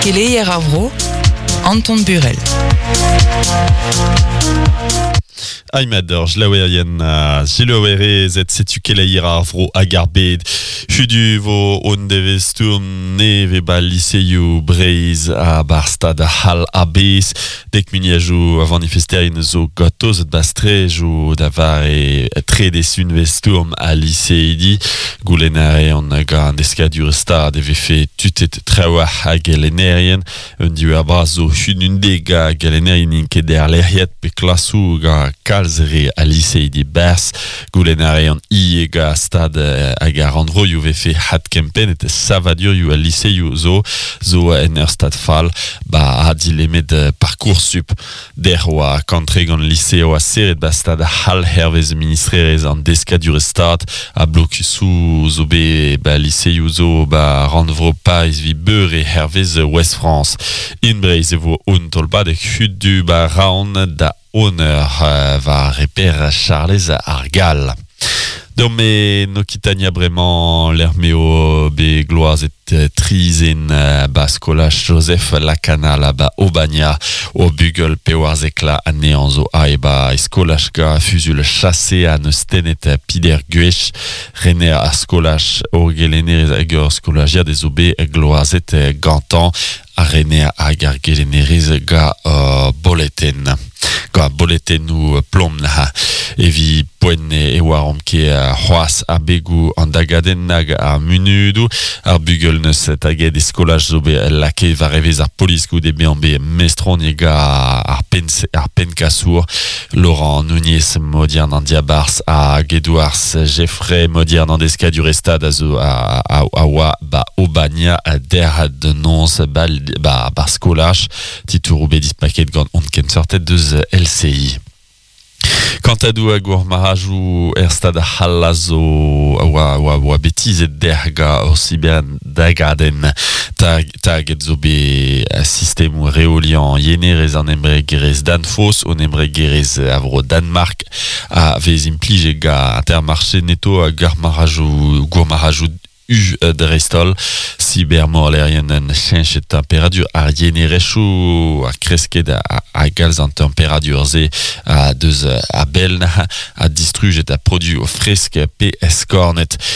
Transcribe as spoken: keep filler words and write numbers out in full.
Keleier ar vro, Anton Burel. Aimed ur jlaouerien uh, jilouerezet setu keleier ar vro hag ar bed. Hudu vo on devez stourm neve ba liseioù Breiz a bar stad hal a-bez. Dek miniajou a vanifesterien zo gatoz et bastrejou da vare trede sunvez stourm a liseidi. Goulen a an gant deskadur stad e vefe tutet traoù hag gelenerien. Un diwer braz zo hunundeg a gelenerien int ket er lec'hiet pe klasou ga kalz re a liseidi bers. Goulen a rean ie ga stad hag ar rannvroioù vefe hat kempennet savadurioù a liseioù zo zo en ur stad fall ba ha dilemet parcoursup der oa kantre gant liseo a serret ba stad hal hervez ministrerez an deskadur stad a blokusou zo be ba liseioù zo ba rannvro Paris vi beure hervez West France. In Breiz e vo un tolbadeg hudu ba raon da honor va reper Charlez ar Gall. Dome Nokitania bremañ l'ermeo be gloazet trizen ba skolaj Joseph Lacanal ba Obania o bugel pe war zekla anean zo a e ba skolaj ga fuzul chassé a neus tenet pider guech rener a skolaj o gelenerez hag ur skolajiad ez zo be gloazet gantan a rener hag ar gelenerez ga uh, boleten. Ga boletennou plom na evi poen e oar omp ket c'hoaz ar begou an dagadenn nag ar munudou ar bugel neus taget e skolaj zo bet lake war evez ar polis goude bezañ bet mestroniet ga ar pen ar penkasour Laurent Nunez modiern an diabarz hag Edouard Jeffrey modiern an deskadur estad a zo a, a, a oa ba Obania der de nons ba, ba, bar skolaj titourou bet dispaket gant on ken sortet deus L C I. Kantadou hag ur marajou er stad c'hall zo oa, oa, oa betizet der ga ur sibian dagadenn tag, taget zo be sistemou reolian yenerez an embregerez Danfoss on embregerez a vro Danmark a vez implije ga Intermarché Netto hag ar marajou gourmarajou U dreistol cybermorlerien en cheñchet temperadur ar yenerezhioù a kresket a, a galz an temperadur ze a deus a bell a distrujet a produ o fresk pe eskornet.